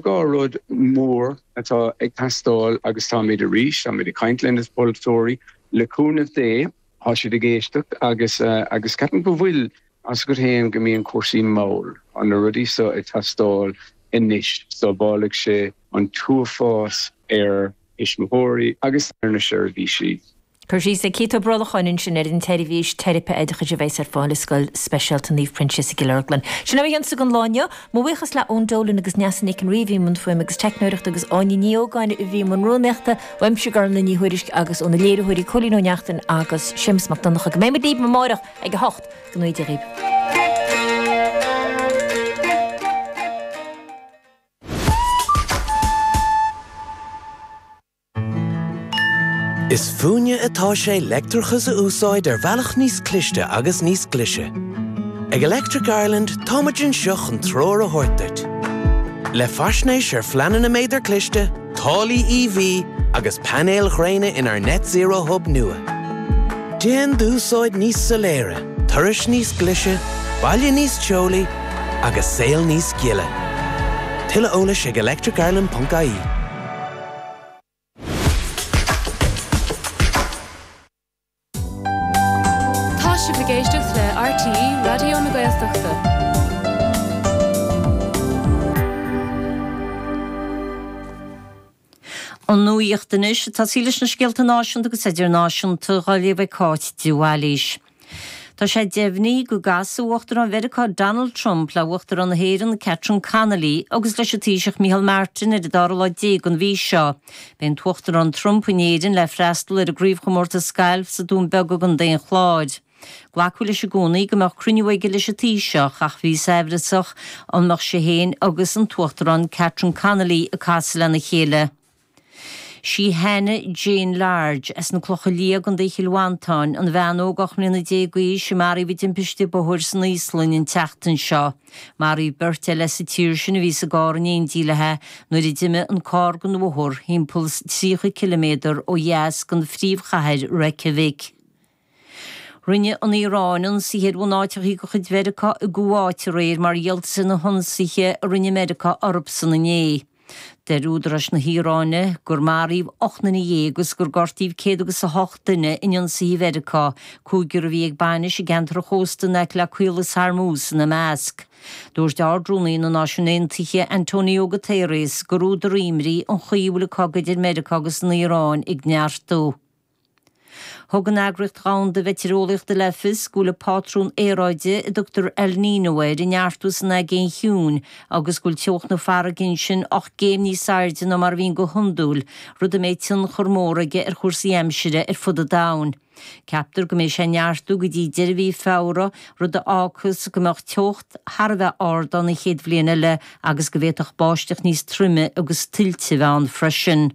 2 rud mór atá ag teastáil agus táimid arís, táimid ag caint le na polaiteoirí, le cúnamh Dé, tá siad ag éisteacht agus agus ceapaim go bhfuil, tá 's agat féin go mbíonn cúrsaí mall, tá na rudaí seo ag teastáil anois, sábhálfaidh sé an t-uafás ar thuismitheoirí agus ar na seirbhísí. Cur síos ag Keith Ó Brolcháin ansin ar an tseirbhís teiripe oideachais a bheas ar fáil i Scoil Speisialta Naomh Proinsias i gCill Orglan. Sin é mo chionsa don lá inniu. Mo bhuíochas le Eoin Dolan agus Neasa Nic an Rí a bhí i mbun fuaime agus teicneoireachta agus Áine Ní Ógáin a bhí i mbun rúnaíochta. Uaimse Gormlaith Ní Thuairisg agus ó na léiritheoirí Cóilín Ó Neachtain agus Séamus Mac Donncha go mbeidh muid libh amárach ag 8. Go ngnóthaí Dia dhaoibh. Is fúinne atá sé leictreachas a úsáid ar bhealach níos cliste agus níos glaise. Ag Electric Ireland táimid anseo chun treoir a thabhairt duit. Le faisnéis ar phleananna méadar cliste, táillí EV agus painéil ghréine inár Net Zero Hub nua. Déan d'úsáid níos soiléire, turais níos glaise, baile níos teolaí agus saol níos gile. Tuilleadh eolais ag electricireland.ie. Tá sibh ag éisteacht le RTÉ Raidió na Gaeltachta. An nuacht anois, ag tosaí leis na scéalta náisiúnta agus idirnáisiúnta, á léamh ag Cáit de Bhailís. Tá sé deimhnithe go gcasfaidh Uachtarán Mheiriceá Donald Trump le Uachtarán na hÉireann Catherine Connolly agus leis an Taoiseach Micheál Martin ar an dara lá déag den mhí seo. Beidh an tUachtarán Trump in Éirinn le freastal ar an gcraobhchomórtas gailf sa Dún Beag i gContae an Chláir. Glacadh leis i gcónaí go mbeadh cruinniú aige leis an Taoiseach ach bhíothas aimhreasach an mbeadh sé féin agus an tUachtarán Catherine Connolly ag casadh lena chéile. Sí Hannah Jane Large, as na Clocha Liath i gContae Chill Mhantáin, an bhean óg 18 mbliana d'aois a maraíodh i dtimpiste bóthair san Íoslainn an tseachtain seo. Maraíodh beirt eile as an tír sin a bhí sa gcarr in éindí léi nuair a d'imigh an carr den bhóthar thimpeall 30 ciliméadar ó dheas den phríomhchathair Reykjavik. Rinne an Iaráin ionsaithe ar bhunáiteacha de chuid Mheiriceá i gCuáit aréir mar dhíoltas ar na hionsaithe a rinne Meiriceá orthusan inné. Deir údaráis na hIaráine gur maraíodh 18 nduine agus gur gortaíodh 108 duine in ionsaithe Mheiriceá, cúigear a bhí ag bainis i gceantar an chósta in aice le Caolas Hormuz ina measc. Dúirt Ard-Rúnaí na Náisiún Aontaithe, Antonio Guterres, gur údar imní an chaoi a bhfuil an cogadh idir Meiriceá agus an Iaráin ag neartú. Thug an Eagraíocht Dhomhanda Mheitéareolaíochta le fios go bhfuil an pátrún aeráide a dtugtar El Niño air ag neartú san Aigéan Chiúin agus go bhfuil teocht na farraige ansin 8 gcéim níos airde ná mar a bhíonn go hiondúil, rud a mbeidh tionchar mór aige ar chúrsaí aimsire ar fud an domhain. Ceaptar go mbeidh sé ag neartú go dtí deireadh mhí Feabhra, rud a fhágfas go mbeadh teocht thar a bheith ard ann an chéad bhliain eile agus go bhféadfadh báisteach níos troime agus tuilte a bheith ann freisin.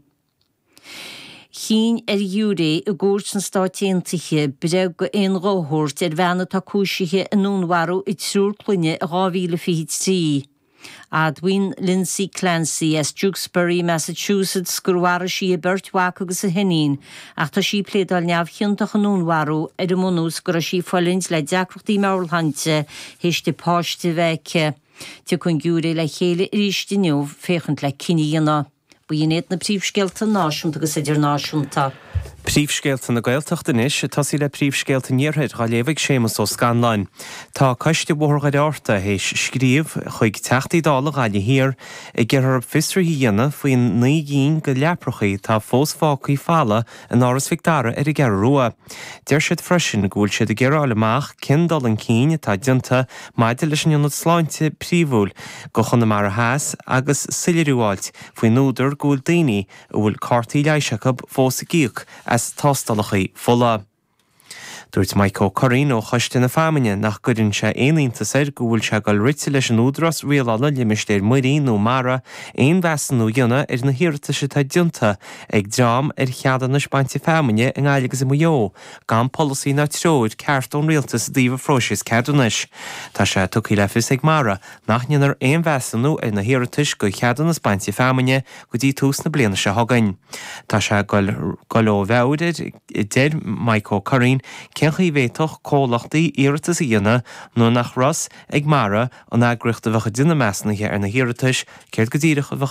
Chinn ar ghiúiré i gcúirt sna Stáit Aontaithe breith d'aon ghuth a thabhairt ar bhean atá cúisithe i ndúnmharú a triúr clainne i 2023. Admhaíonn Lindsay Clancy as Tewksbury, Massachusetts gur mharaigh sí a beirt mhac agus a hiníon ach tá sí ag pléadáil neamhchiontach i ndúnmharú ar an mbunús go raibh sí ag fulaingt le deacrachtaí meabhairshláinte théis di páiste a bheith aici. Tiocfaidh an giúiré le chéile arís inniu féachaint le cinneadh a dhéanamh. B'in iad na príomhscéalta náisiúnta agus idirnáisiúnta. Príomhscéalta na Gaeltachta anois, ag tosaí le príomhscéalta an Iarthair, á léamh ag Séamus Ó Scanláin. Tá Coiste Bhóthar Dhoire Fhearta théis scríobh chuig Teachtaí Dála Ghaillimh Thiar ag iarraidh orthu fiosruithe a dhéanamh faoin 9 gcinn de leaprachaí atá fós fágtha folamh in Áras Mhic Dara ar an gCeathrú Rua. Deir siad freisin go bhfuil siad ag iarraidh a fháil amach cén dul chun cinn atá déanta maidir leis an ionad sláinte príomhúil do Chonamara Theas agus soiléiriú a fháilt faoin údar go bhfuil daoine a bhfuil cártaí leighis acu fós ag íoc as tástálacha fola. Dúirt Mike Ó Curraoin ó Choiste na Feamainne nach gcuireann sé aon iontas air go bhfuil sé ag dul rite leis an Údarás Rialála Limistéir Muirí nó Mara aon mheasúnú a dhéanamh ar na hiarratais atá déanta ag dream ar cheadúnais bainte feamainne i nGaillimh agus i Maigh Eo gan polasaí ná treoir ceart ón rialtas i dtaobh an phróisis ceadúnais. Tá sé tugtha le fios ag Mara nach ndéanfar aon mheasúnú ar na hiarratais do cheadúnas bainte feamainne go dtí tús na bliana seo chugainn. Tá sé ag dul ó mheabhair air, a deir Mike Ó Curraoin. Cén chaoi a bhféadfadh comhlachtaí iarratas a dhéanamh nuair nach raibh fhios ag Mara, an eagraíocht a bheadh ag déanamh measúnaithe ar na hiarratais, céard go díreach a bheadh.